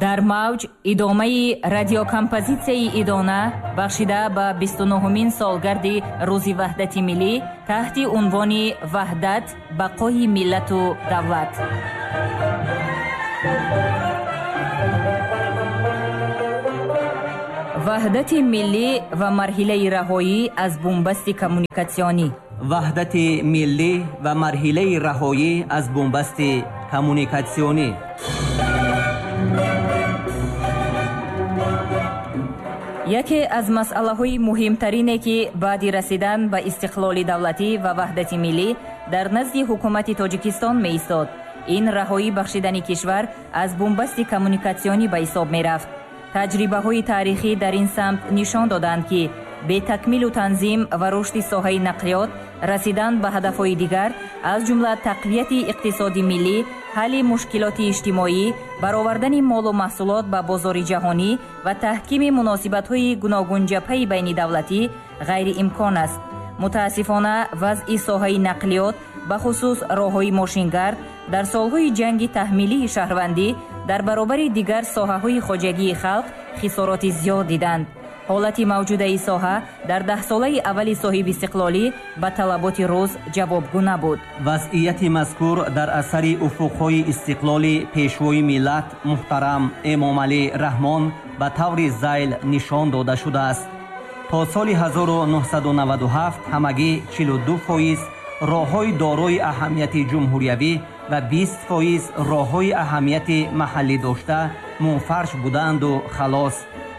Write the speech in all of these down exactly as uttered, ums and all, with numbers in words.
Дар мавҷ идомаи радиокомпозитсияи идона бахшида ба бисту нуҳумин солгарди Рӯзи Ваҳдати Миллӣ таҳти унвони «Ваҳдат, бақои миллату давлат». Ваҳдати миллӣ ва марҳилаи раҳоӣ аз бунбасти коммуникатсионӣ. Ваҳдати миллӣ ва марҳилаи раҳоӣ аз бунбасти коммуникатсионӣ. Яке аз масъалаҳои муҳимтарине, ки баъди расидан ба истиқлоли давлатӣ ва ваҳдати миллӣ дар назди ҳукумати Тоҷикистон меистод, ин раҳоӣ бахшидани кишвар аз бунбасти коммуникатсионӣ ба ҳисоб мерафт. Таҷрибаҳои таърихӣ дар ин самт нишон доданд, ки бетакмилу танзим ва рушди соҳаи нақлиёт расидан ба ҳадафҳои дигар, аз ҷумла тақвияти иқтисоди миллӣ, ҳалли мушкилоти иҷтимоӣ, баровардани молу маҳсулот ба бозори ҷаҳонӣ ва таҳкими муносибатҳои гуногунҷабҳаи байнидавлатӣ ғайриимкон аст. Мутаассифона, вазъи соҳаи нақлиёт, бахусус роҳҳои мошингард, дар солҳои ҷанги таҳмилии шаҳрвандӣ дар баробари дигар соҳаҳои хоҷагии халқ хисороти зиёд диданд. Ҳолати мавҷудаи соҳа дар даҳсолаи аввали соҳибистиқлолӣ ба талаботи рӯз ҷавобгӯ набуд. Вазъияти мазкур дар асари уфуқҳои истиқлоли Пешвои миллат муҳтарам Эмомалӣ Раҳмон ба таври зайл нишон дода шудааст. То соли ҳазору нуҳсаду наваду ҳафт ҳамагӣ чилу ду фоиз роҳҳои дорои аҳамияти ҷумҳуриявӣ ва бист фоиз роҳҳои аҳамияти маҳаллӣ дошта мунфарш буданду халос,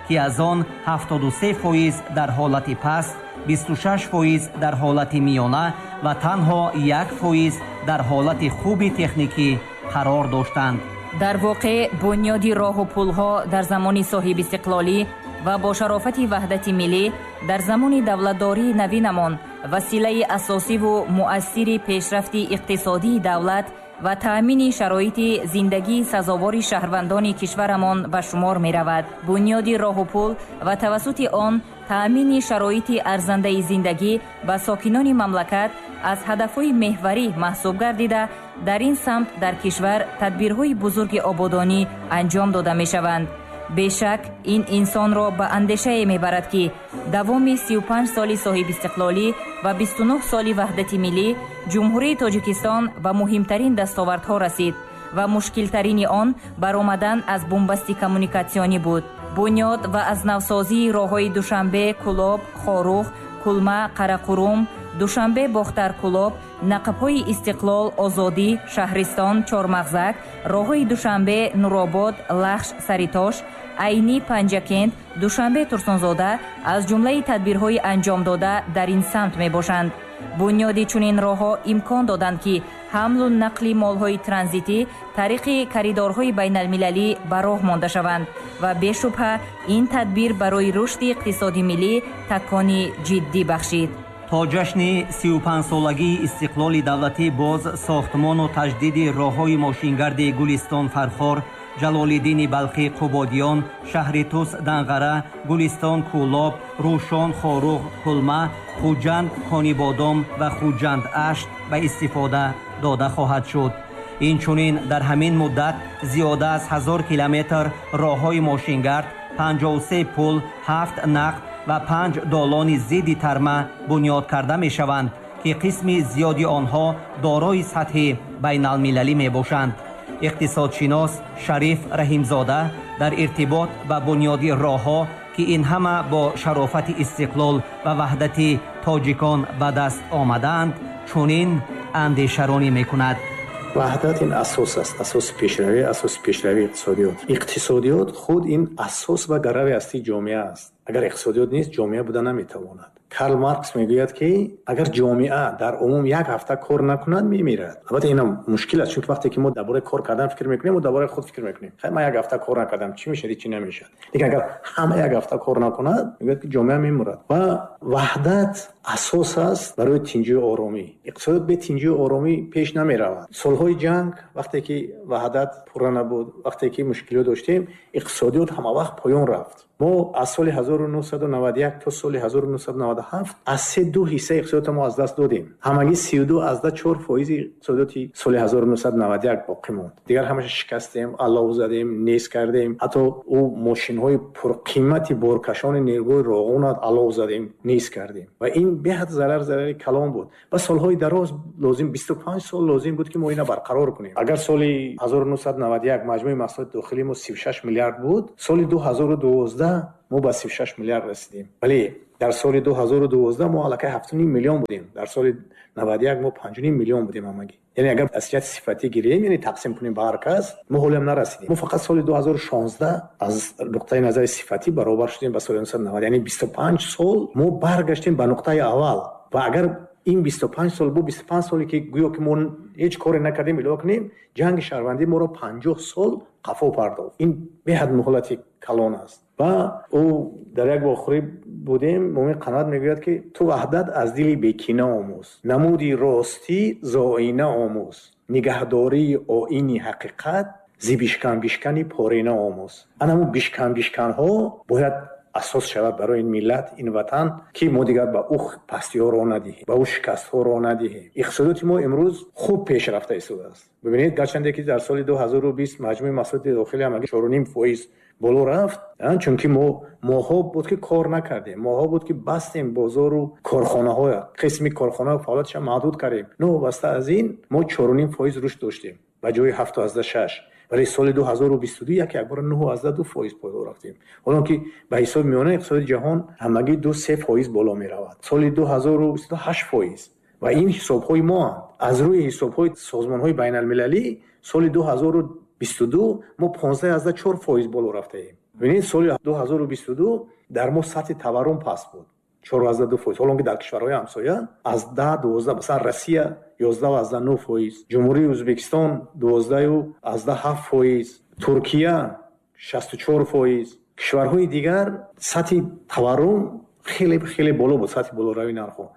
ки аз он ҳафтоду се фоиз дар ҳолати паст, бисту шаш фоиз дар ҳолати миёна ва танҳо як фоиз дар ҳолати хуби техникӣ қарор доштанд. Дар воқеъ, бунёди роҳу пулҳо дар замони соҳибистиқлолӣ ва бо шарофати ваҳдати миллӣ дар замони давлатдории навинамон василаи асосиву муассири пешрафти иқтисодии давлат ва таъмини шароити зиндагии сазовори шаҳрвандони кишварамон ба шумор меравад. Бунёди роҳу пул ва тавассути он таъмини шароити арзандаи зиндагӣ ба сокинони мамлакат аз ҳадафҳои меҳварӣ маҳсуб гардида, дар ин самт дар кишвар тадбирҳои бузурги ободонӣ анҷом дода мешаванд. Бешак, ин инсонро ба андешае мебарад, ки давоми сию панҷ соли соҳибистиқлолӣ ва бисту нуҳ соли ваҳдати миллӣ Ҷумҳурии Тоҷикистон ба муҳимтарин дастовардҳо расид ва мушкилтарини он баромадан аз бунбасти коммуникатсионӣ буд. Бунёд ва аз навсозии роҳҳои Душанбе, Кӯлоб, Хоруғ, Кулма, Қарақурум, Душанбе, Бохтар, Кӯлоб, нақбҳои Истиқлол, Озодӣ, Шаҳристон, Чормағзак, роҳҳои Душанбе, Нуробод, Лахш, Саритош, Айнӣ, Панҷакент, Душанбе, Турсунзода аз ҷумлаи тадбирҳои анҷомдода дар ин самт мебошанд. Бунёди чунин роҳҳо имкон доданд, ки ҳамлу нақли молҳои транзитӣ тариқи коридорҳои байналмилалӣ ба роҳ монда шаванд ва бешубҳа ин тадбир барои рушди иқтисоди миллӣ такони ҷиддӣ бахшид. То ҷашни сию панҷсолагии истиқлоли давлатӣ боз сохтмону таҷдиди роҳҳои мошингарди Гулистон Фархор, Ҷалолиддини Балхӣ Қубодиён, шаҳри Тус Данғара, Гулистон Кӯлоб, Рӯшон Хоруғ Кулма, Хуҷанд Конибодом ва Хуҷанд Ашт ба истифода дода хоҳад шуд. Инчунин дар ҳамин муддат зиёда аз ҳазор километр роҳҳои мошингард, панҷоҳу се пул, ҳафт нақб ва панҷ долони зидди тарма бунёд карда мешаванд, ки қисми зиёди онҳо дорои сатҳи байналмилалӣ мебошанд. Иқтисодшинос Шариф Раҳимзода дар иртибот ба бунёди роҳҳо, ки ин ҳама бо шарофати истиқлол ва ваҳдати тоҷикон ба даст омадаанд, чунин андешаронӣ мекунад. Ваҳдат ин асос аст, асоси пешравӣ, асоси пешравии иқтисодиёт. Иқтисодиёт худ ин асос ва гарави ҳастии ҷомеа аст. Агар иқтисодиёт нест, ҷомеа буда наметавонад. Карл Маркс мегӯяд, ки агар ҷомеа дар умум як ҳафта кор накунад, мемирад. Албатта инам мушкил аст, чунки вақте ки мо дар бораи кор кардан фикр мекунем, мо дар бораи худ фикр мекунем. Хай, ман як ҳафта кор накардам, чӣ мешавад, чӣ намешавад. Лекин агар ҳама як ҳафта кор накунад, мегӯяд, ки ҷомеа мемурад. Ва ваҳдат асос аст барои тинҷию оромӣ. Иқтисодиёт бе тинҷию оромӣ пеш намеравад. Солҳои ҷанг, вақте ки ваҳдат пурра набуд, вақте ки мушкилиҳо доштем, иқтисодиёт ҳама вақт поён рафт. Мо аз соли ҳазору нӯҳсаду наваду як то соли ҳазору нӯҳсаду наваду ҳафт аз се ду ҳиссаи иқтисодиётро мо аз даст додем. Ҳамагӣ сию ду аз да чор фоизи иқтисодиёти соли ҳазору нӯҳсаду наваду як боқӣ монд. Дигар ҳамаша шикастем, аллов задем, нез кардем. Ҳатто ӯ мошинҳои пурқимати боркашони нерӯгоҳи Роғунат аллов задем, нез кардем. Ва ин беҳад зарар, зарари калон буд. Ва солҳои дароз лозим, бисту панҷ сол лозим буд, ки мо ина барқарор кунем. Агар соли ҳазору нӯҳсаду наваду як маҷмӯи маҳсулоти дохилии мо сию шаш миллиард буд, соли ду ҳазору дувоздаҳ мо ба сию шаш миллиард расидем. Вале дар соли ду ҳазору дувоздаҳ мо аллакай ҳафту ним миллион будем. Дар соли наваду як мо панҷу ним миллион будем ҳамагӣ. Яъне агар аз ҷиҳати сифатӣ гирем, яъне тақсим кунем ба ҳар кас, мо ҳолиам нарасидем. Мо фақат соли ду ҳазору шонздаҳ аз нуқтаи назари сифатӣ баробар шудем ба соли нӯҳсаду навад. Яъне бисту панҷ сол мо баргаштем ба нуқтаи аввал. Ва агар ин бисту панҷ сол бу бисту панҷ соле ки гӯё ки мо ҳеҷ коре накардем, илова кунем, ҷанги шаҳрвандӣ моро панҷоҳ сол қафо пардохт. Ин беҳад муҳлати калон аст. Ва ӯ дар як вохӯрӣ будем, Мумин Қаноат мегӯяд, ки ту ваҳдат аз дили бекина омӯз, намуди ростӣ зоина омӯз, нигаҳдории оини ҳақиқат зи бишкан-бишкани порина омӯз. Ана ҳамун бишкан-бишканҳо бояд асос шавад барои ин миллат, ин ватан, ки мо дигар ба ӯ пастиҳо роҳ надиҳем, ба ӯ шикастҳо роҳ надиҳем. Иқтисодиёти мо имрӯз хуб пеш рафта истодааст. Бибинед, гарчанде ки дар соли ду ҳазору бист маҷмӯи маҳсулоти дохилӣ ҳамагӣ чору ним фоиз боло рафт, чунки мо моҳҳо буд ки кор накардем, моҳҳо буд ки бастем бозору корхонаҳо, қисми корхонаҳо фаъолияташро маҳдуд кардем. Новобаста аз ин мо чору ним фоиз рушд доштем ба ҷои ҳафту азда шаш. Вале соли ду ҳазору бисту ду як якбора нӯҳу азда ду фоиз боло рафтем. Ҳолон ки ба ҳисоби миёнаи иқтисоди ҷаҳон ҳамагӣ ду се фоиз боло меравад. Соли ду ҳазору бисту ду ҳашт фоиз. Ва ин ҳисобҳои моанд. Аз рӯи ҳисобҳои созмонҳои байналмилалӣ соли ду ҳазору бисту ду мо понздаҳ азда чор фоиз боло рафтаем. Бибинед, соли ду ҳазору бисту ду дар мо сатҳи таваррум паст буд, чор азда ду фоиз. Ҳолон ки дар кишварҳои ҳамсоя аз даҳ дувоздаҳ, масалан Россия ёздаҳ азда нӯҳ фоиз, Ҷумҳурии Ӯзбекистон дувоздаҳу азда ҳафт фоиз, Туркия шасту чор фоиз. Кишварҳои дигар сатҳи таваррум хеле хеле боло буд, сатҳи болоравии нархҳо.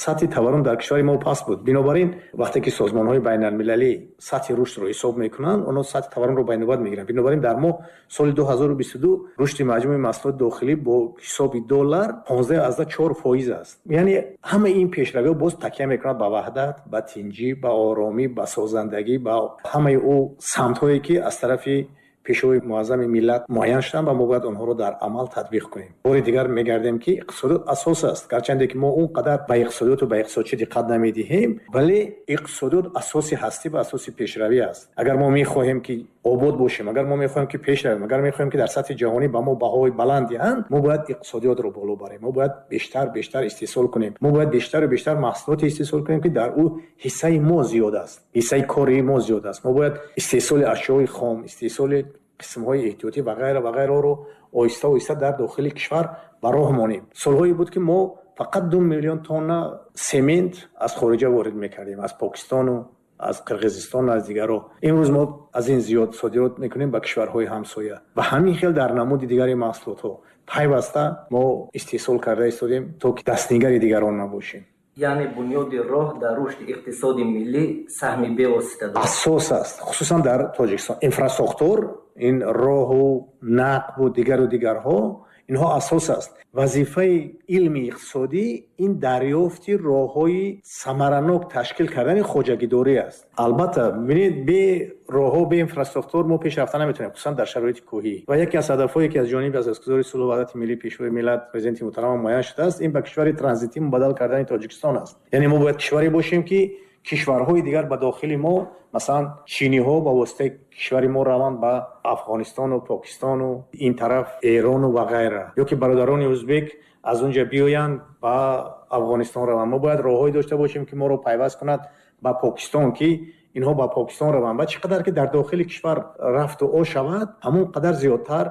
Сатҳи таваррум дар кишвари мо паст буд. Бинобар ин вақте ки созмонҳои байналмилалӣ сатҳи рушдро ҳисоб мекунанд, онҳо сатҳи таваррумро ба инобат мегиранд. Бинобар ин дар мо соли ду ҳазору бисту ду рушди маҷмӯи маҳсулоти дохилӣ бо ҳисоби доллар понздаҳ азда чор фоиз аст. Яъне ҳамаи ин пешравиҳо боз такя мекунад ба ваҳдат, ба тинҷӣ, ба оромӣ, ба созандагӣ, ба ҳамаи ӯ самтҳое ки аз тарафи пешвои муаззами миллат муайян шуданд ва мо бояд онҳоро дар амал татбиқ кунем. Бори дигар мегардем, ки иқтисодиёт асос аст. Гарчанде ки мо он қадар ба иқтисодиёту ба иқтисодчӣ диққат намедиҳем, вале иқтисодиёт асоси ҳастӣ ва асоси пешравӣ аст. Агар мо мехоҳем ки обод бошем, агар мо мехоҳем ки пеш равем, агар мехоҳем ки дар сатҳи ҷаҳонӣ ба мо баҳои баланд диҳанд, мо бояд иқтисодиётро боло барем, мо бояд бештар бештар истеҳсол кунем, мо бояд бештару бештар маҳсулоте истеҳсол кунем, ки дар ӯ ҳиссаи мо зиёд аст, ҳиссаи кори мо зиёд аст. Мо бояд истеҳсоли ашёи хом, истеҳсоли қисмҳои эҳтиётӣ ва ғайра ва ғайраро оҳиста оҳиста дар дохили кишвар ба роҳ монем. Солҳое буд, ки мо фақат ду миллион тонна семент аз хориҷа ворид мекардем, аз Покистону аз Қирғизистон, аз дигарро. Имрӯз мо аз ин зиёд содирот мекунем ба кишварҳои ҳамсоя. Ва ҳамин хел дар намуди дигари маҳсулотҳо пайваста мо истеҳсол карда истодем, то ки дастнигари дигарон набошем. Яъне бунёди роҳ дар рушди иқтисоди миллӣ саҳми бевосита дорад. Асос аст, хусусан дар Тоҷикистон. Инфрасохтор, ин роҳу нақбу дигару дигарҳо, инҳо асос аст. Вазифаи илми иқтисодӣ ин дарёфти роҳҳои самаранок ташкил кардани хоҷагидорӣ аст. Албатта, бибинед, бе роҳҳо, бе инфрасохтор мо пеш рафта наметавонем, хусусан дар шароити кӯҳӣ. Ва яке аз ҳадафҳое ки аз ҷониби асосгузори сулҳу ваҳдати миллӣ, пешвои миллат, президенти муҳтарам муайян шудааст, ин ба кишвари транзитӣ мубаддал кардани Тоҷикистон аст. Яъне мо бояд кишваре бошем, ки кишварҳои дигар ба дохили мо, масалан чиниҳо ба воситаи кишвари мо раванд ба Афғонистону Покистону ин тараф Эрону ва ғайра, ё ки бародарони ӯзбек аз он ҷо биёянд ба Афғонистон раванд. Мо бояд роҳҳое дошта бошем, ки моро пайваст кунад ба Покистон, ки инҳо ба Покистон раванд. Ва чӣ қадар ки дар дохили кишвар рафту о шавад, ҳамон қадар зиёдтар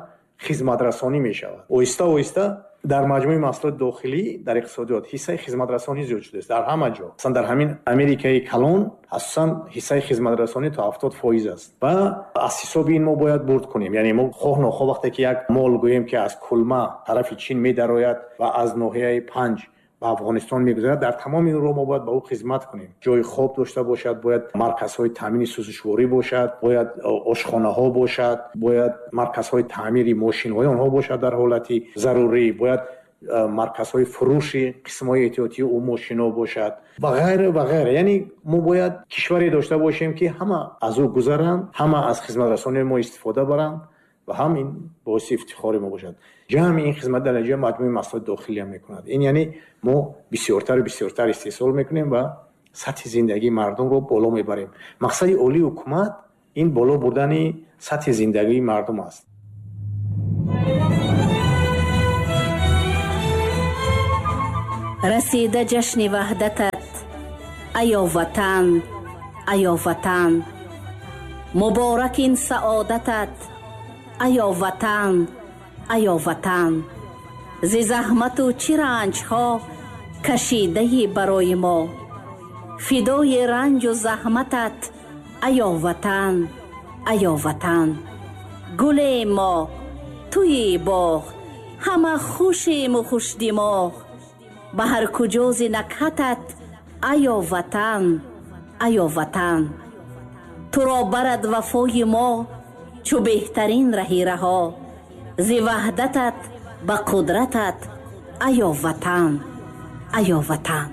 хизматрасонӣ мешавад. Оҳиста оҳиста дар маҷмӯи маҳсулоти дохилӣ дар иқтисодиёт ҳиссаи хизматрасонӣ зиёд шудааст дар ҳама ҷо. Масалан дар ҳамин Америкаи калон асосан ҳиссаи хизматрасонӣ то ҳафтод фоиз аст ва аз ҳисоби ин мо бояд бурд кунем. Яъне мо хоҳ нохоҳ вақте ки як мол гӯем, ки аз Кулма тарафи Чин медарояд ва аз ноҳияи Панҷ Ба Афғонистон мегузарад, дар тамоми ин роҳ мо бояд ба ӯ хизмат кунем. Ҷои хоб дошта бошад, бояд марказҳои таъмини сӯзишворӣ бошад, бояд ошхонаҳо бошад, бояд марказҳои таъмири мошинҳои онҳо бошад дар ҳолати зарурӣ, бояд марказҳои фурӯши қисмҳои эҳтиётии ӯ мошинҳо бошад ва ғайра ва ғайра. Яъне мо бояд кишваре дошта бошем, ки ҳама аз ӯ гузаранд, ҳама аз хизматрасонии мо истифода баранд ва ҳам ин боиси ифтихори мо бошад. Ҷамъи ин хизмат дар натиҷа маҷмӯи маҳсулоти дохилиам мекунад. Ин яъне мо бисёртару бисёртар истеҳсол мекунем ва сатҳи зиндагии мардумро боло мебарем. Мақсади олии ҳукумат ин боло бурдани сатҳи зиндагии мардум аст. Расида ҷашни ваҳдатат, аё ватан, аё ватан, муборак ин саодатат, аё ватан, аё ватан. Зи заҳмату чӣ ранҷҳо кашидаи барои мо, фидои ранҷу заҳматат, аё ватан, аё ватан. Гуле мо, туи боғ, ҳама хушему хушдимоғ, ба ҳар куҷо зи накҳатат, аё ватан, аё ватан. Туро барад вафои мо чу беҳтарин раҳи раҳо, зи ваҳдатат ба қудратат, аё ватан, аё ватан.